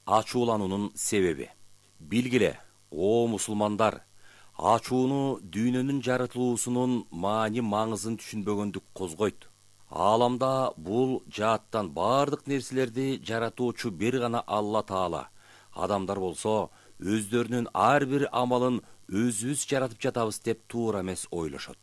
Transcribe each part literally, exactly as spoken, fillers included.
ачуулануунун себеби. Билгиле, о мусулмандар, ачууну дүйнөнүн жаратылуусунун маани маңызын түшүнбөгөндүк козгойт. Ааламда бул жааттан бардык нерселерди жаратуучу бир гана Алла Таала. Адамдар болсо өздөрүнүн ар бир амалын өзүбүз жаратып жатабыз деп туура эмес ойлошот.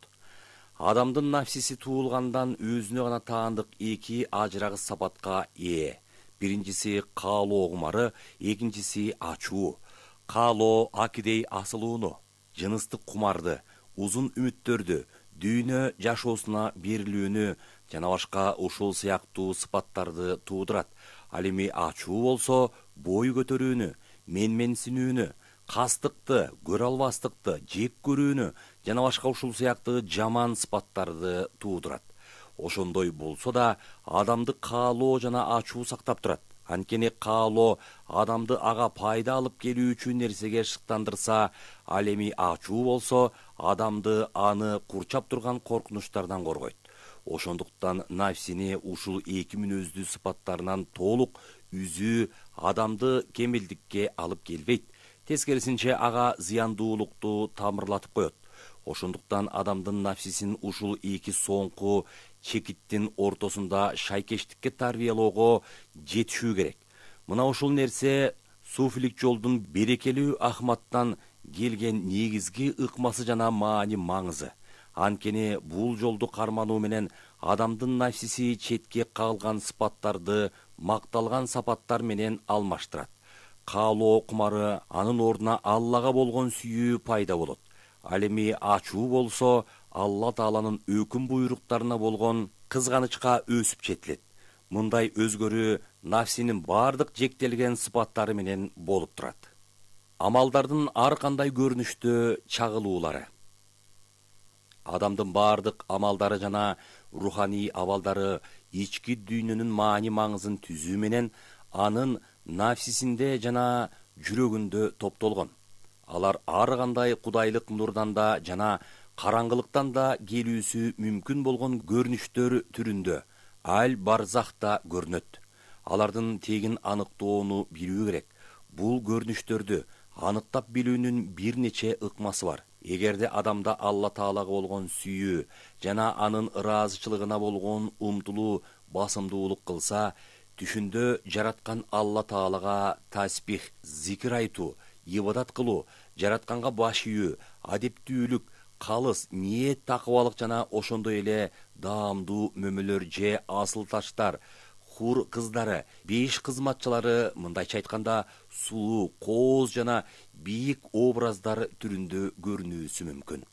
Адамдын нафсиси туулгандан өзүнө гана таандык эки ажырагыс сапатка ээ. Биринчиси каалоо кумары, экинчиси ачуу. Каалоо акидей асылууну, жыныстык кумарды, узун үмүттөрдү, дүйнө жашоосуна берилүүнү жана башка ушул сыяктуу сыпаттарды туудурат. Ал эми ачуу болсо бой көтөрүүнү, менменсинүүнү, кастыкты, көрө албастыкты, жек көрүүнү жана башка ушул сыяктуу жаман сыпаттарды туудурат. Ошондой болсо да адамды каалоо жана ачуу сактап турат. Анткени каалоо адамды ага пайда алып келүүчү нерсеге шыктандырса, ал эми ачуу болсо адамды аны курчап турган коркунучтардан коргойт. Ошондуктан нафсини ушул эки мүнөздүү сыпаттарынан толук үзүү адамды кемелдикке алып келбейт. Тескерисинче ага зыяндуулукту тамырлатып коет. Ошондуктан адамдын нафсисин ушул эки соңку чекиттин ортосунда шайкештикке тарбиялоого жетишүү керек. Мына ушул нерсе суфилик жолдун берекелүү Ахматтан келген негизги ыкмасы жана маани маңызы. Анткени бул жолду кармануу менен адамдын нафсиси четке кагылган сыпаттарды макталган сапаттар менен алмаштырат. Каалоо кумары анын ордуна Аллага болгон сүйүү пайда болот. Ал эми ачуу болсо Алла Тааланын өкүм буйруктарына болгон кызганычка өсүп жетилет. Мындай өзгөрүү нафсинин бардык жектелген сыпаттары менен болуп турат. Амалдардын ар кандай көрүнүштө чагылуулары. Адамдын бардык амалдары жана руханий абалдары ички дүйнөнүн маани маңызын түзүү менен анын нафсисинде жана жүрөгүндө топтолгон. Алар ар кандай кудайлык нурдан да жана караңгылыктан да келүүсү мүмкүн болгон көрүнүштөр түрүндө аль барзахта көрүнөт. Алардын тегин аныктоону билүү керек. Бул көрүнүштөрдү аныктап билүүнүн бир нече ыкмасы бар. Эгерде адамда Алла Таалага болгон сүйүү жана анын ыраазычылыгына болгон умтулуу басымдуулук кылса, түшүндө жараткан Алла Таалага таспих, зикир айтуу, ибадат кылуу, жаратканга баш ийүү, адептүүлүк, калыс, ниет, такыбалык жана ошондой эле даамдуу мөмөлөр же асыл таштар, хур кыздары, беш кызматчылары, мындайча айтканда, сулуу, кооз жана бийик образдар түрүндө көрүнүүсү мүмкүн.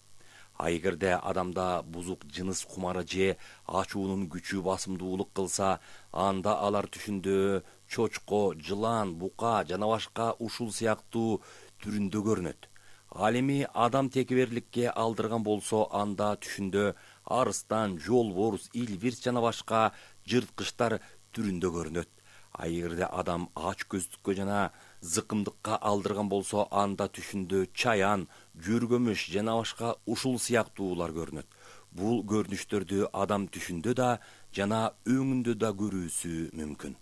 А эгерде адамда бузук жыныс кумары же ачуунун күчү басымдуулук кылса, анда алар түшүндө чочко, жылан, бука жана башка ушул сыяктуу түрүндө көрүнөт. Ал эми адам текеберликке алдырган болсо, анда түшүндө арыстан, жолборс, илвирс жана башка жырткычтар түрүндө көрүнөт. А эгерде адам ач көздүккө жана зыкымдыкка алдырган болсо, анда түшүндө чаян, жөргөмүш жана башка ушул сыяктуулар көрүнөт. Бул көрүнүштөрдү адам түшүндө да жана өңүндө да көрүүсү мүмкүн.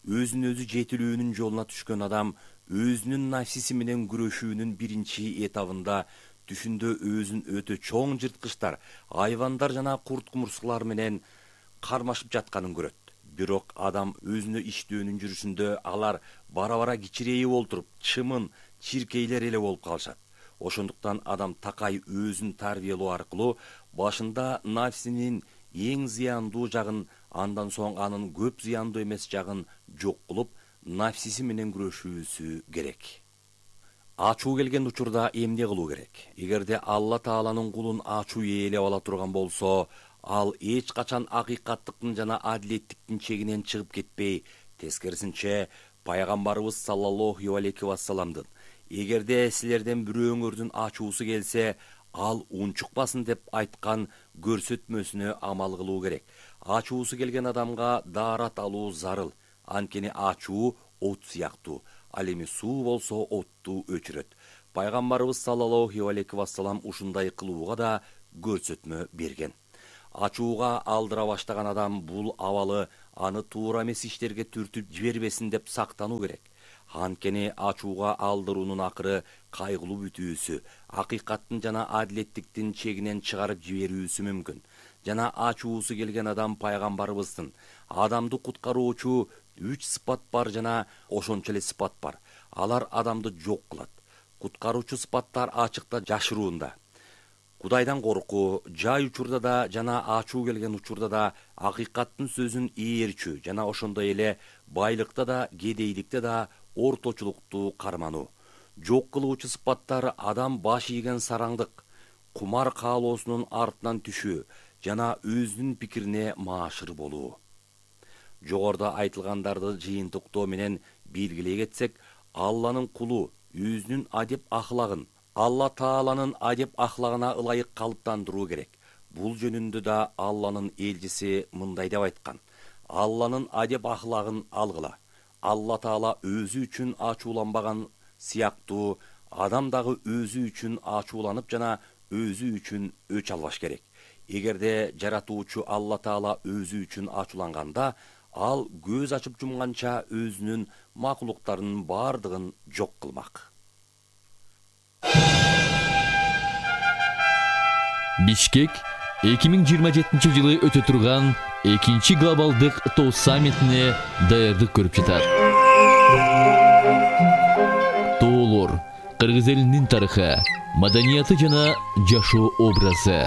Өзүн өзү жетилүүнүн жолуна түшкөн адам өзүнүн нафсиси менен күрөшүүнүн биринчи этабында түшүндө өзүн өтө чоң жырткычтар, айвандар жана курт кумурскалар менен кармашып жатканын көрөт. Бирок адам өзүнө иштөөнүн жүрүшүндө алар бара-бара кичирейип олтуруп, чымын, чиркейлер эле болуп калышат. Ошондуктан адам такай өзүн тарбиялоо аркылуу башында нафсинин эң зыяндуу жагын, андан соң анын көп зыяндуу эмес жагын жок кылып, нафсиси менен күрөшүүсү керек. Ачуу келген учурда эмне кылуу керек? Эгерде Алла Тааланын кулун ачуу ээлеп ала турган болсо, ал эч качан акыйкаттыктын жана адилеттиктин чегинен чыгып кетпей, тескерисинче пайгамбарыбыз саллаллаху алейхи вассаламдын эгерде силерден бирөөңөрдүн ачуусу келсе, ал унчукпасын деп айткан көрсөтмөсүнө амал кылуу керек. Ачуусу келген адамга даарат алуу зарыл. Анткени ачуу от сыяктуу. Ал эми суу болсо отту өчүрөт. Пайгамбарыбыз саллаллаху алейхи вассалам ушундай кылууга да көрсөтмө берген. Ачууга алдыра баштаган адам бул абалы аны туура эмес иштерге түртүп жибербесин деп сактануу керек. Анткени ачууга алдыруунун акыры кайгылуу бүтүүсү, акыйкаттын жана адилеттиктин чегинен чыгарып жиберүүсү мүмкүн. Жана ачуусу келген адам пайгамбарыбыздын адамды куткаруучу үч сыпат бар жана ошончо эле сыпат бар. Алар адамды жок кылат. Куткаруучу сыпаттар ачыкта жашыруунда. Кудайдан коркуу, жай учурда да жана ачуу келген учурда да акыйкаттын сөзүн ээрчүү жана ошондой эле байлыкта да, кедейликте да орточулукту кармануу. Жок кылуучу сыпаттар адам баш ийген сараңдык, кумар каалоосунун артынан түшүү жана өзүнүн пикирине маашыр болуу. Жогоруда айтылгандарды жыйынтыктоо менен белгилей кетсек, Алланын кулу өзүнүн адеп ахлагын Алла Тааланын адеп ахлагына ылайык калыптандыруу керек. Бул жөнүндө да Алланын элчиси мындай деп айткан: Алланын адеп ахлагын алгыла. Алла Таала өзү үчүн ачууланбаган сыяктуу адам дагы өзү үчүн ачууланып жана өзү үчүн өч албаш керек. Эгерде жаратуучу Алла Таала өзү үчүн ачууланганда, ал көз ачып жумганча өзүнүн макулуктарынын бардыгын жок кылмак. Бишкек эки миң жыйырма жетинчи жылы өтө турган экинчи глобалдык тоо саммитине даярдык көрүп жатат. Тоолор кыргыз элинин тарыхы, маданияты жана жашоо образы.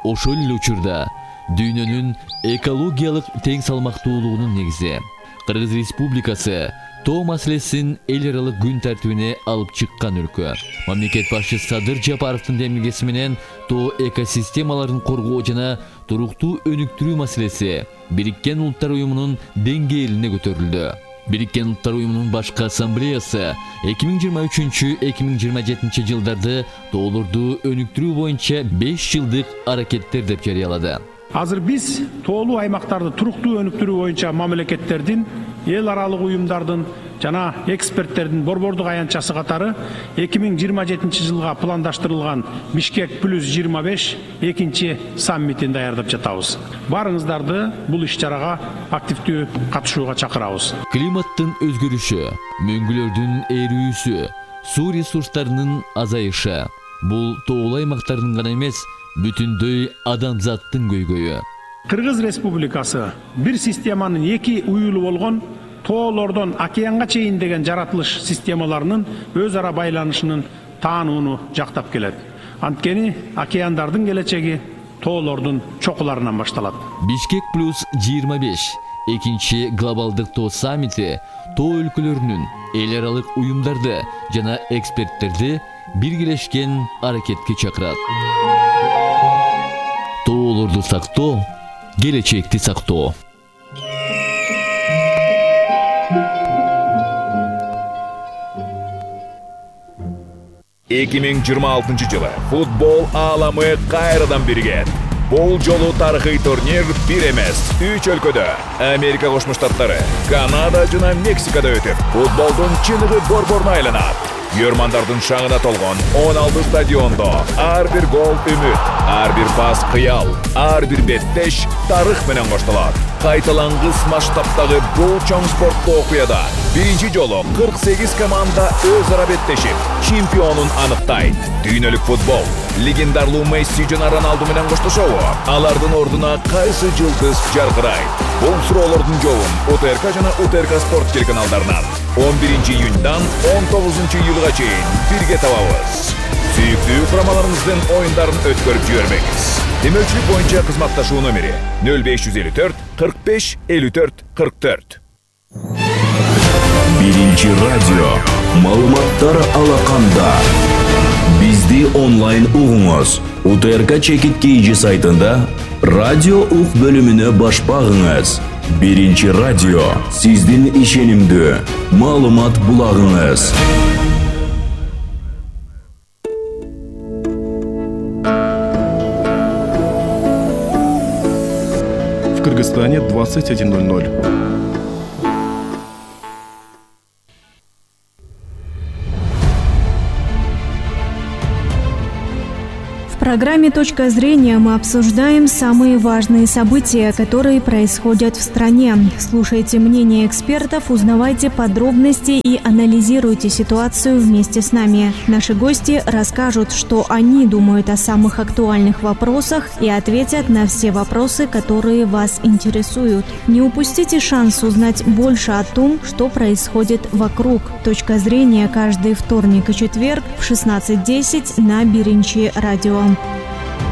Ошол эле учурда дүйнөнүн экологиялык тең салмактуулугунун негизи. Кыргыз Республикасы тоо маселесин эл аралык күн тартибине алып чыккан өлкө. Мамлекет башчысы Садыр Жапаровдун демилгеси менен тоо экосистемаларын коргоо жана туруктуу өнүктүрүү маселеси Бириккен Улуттар Уюмунун деңгээлине көтөрүлдү. Бириккен Улуттар Уюмунун башкы ассамблеясы эки миң жыйырма үчүнчү — эки миң жыйырма жетинчи жылдарды тоолорду өнүктүрүү боюнча беш жылдык аракеттер деп жарыялады. Азыр биз тоолуу аймактарды туруктуу өнүктүрүү боюнча мамлекеттердин, эл аралык уюмдардын жана эксперттердин борбордук аянтчасы катары эки миң жыйырма жетинчи жылга пландаштырылган Бишкек плюс жыйырма беш экинчи саммитин даярдап жатабыз. Барыңыздарды бул иш-чарага активдүү катышууга чакырабыз. Климаттын өзгөрүшү, мөңгүлөрдүн эрүүсү, суу ресурстарынын азайышы бул тоолуу аймактардын гана эмес, бүтүндөй адамзаттын көйгөйү. Кыргыз Республикасы бир системанын эки уюлу болгон тоолордон океанга чейин деген жаратылыш системаларынын өз ара байланышынын таанууну жактап келет. Анткени океандардын келечеги тоолордун чокуларынан башталат. Бишкек плюс жыйырма беш экинчи глобалдык тоо саммити тоо өлкөлөрүнүн, эл аралык уюмдарды жана эксперттерди биргелешкен аракетке чакырат. Тоолорду сактоо, келечекти сактоо. эки миң жыйырма алтынчы жылы футбол ааламы кайрадан биригет. Бул жолу тарыхый турнир бир эмес, үч өлкөдө — Америка Кошмо Штаттары, Канада жана Мексикада өтүп, футболдун чыныгы борборуна айланат. Көрмандардын шаңына толгон он алты стадиондо ар бир гол үмүт, ар бир пас кыял, ар бир беттеш тарых менен коштолот. Кайталангыс масштабтагы бул чоң спорттуу окуяда биринчи жолу кырк сегиз команда өз ара беттешип, чемпионун аныктайт. Дүйнөлүк футбол легендарлуу Месси жана Роналду менен коштошобу? Алардын ордуна кайсы жылдыз жаркырайт? Бул суроолордун жообун УТРК жана УТРК спорт телеканалдарынан он биринчи июньдан он тогузунчу июлга чейин бирге табабыз. Сүйүктүү курамаларыңыздын оюндарын өткөрүп жибербеңиз. Демөөлчүлүк боюнча кызматташуу номери нөл беш жүз элүү төрт кырк беш элүү төрт кырк төрт. Биринчи радио маалыматтар алаканда. Бизди онлайн угуңуз. УТРК Чекит Кейжи сайтында радио ук бөлүмүнө баш багыңыз. Биринчи радио сиздин ишенимдүү маалымат булагыңыз. В Кыргызстане двадцать один ноль ноль. В программе «Точка зрения» мы обсуждаем самые важные события, которые происходят в стране. Слушайте мнения экспертов, узнавайте подробности и анализируйте ситуацию вместе с нами. Наши гости расскажут, что они думают о самых актуальных вопросах и ответят на все вопросы, которые вас интересуют. Не упустите шанс узнать больше о том, что происходит вокруг. «Точка зрения» каждый вторник и четверг в шестнадцать десять на Биринчи радио.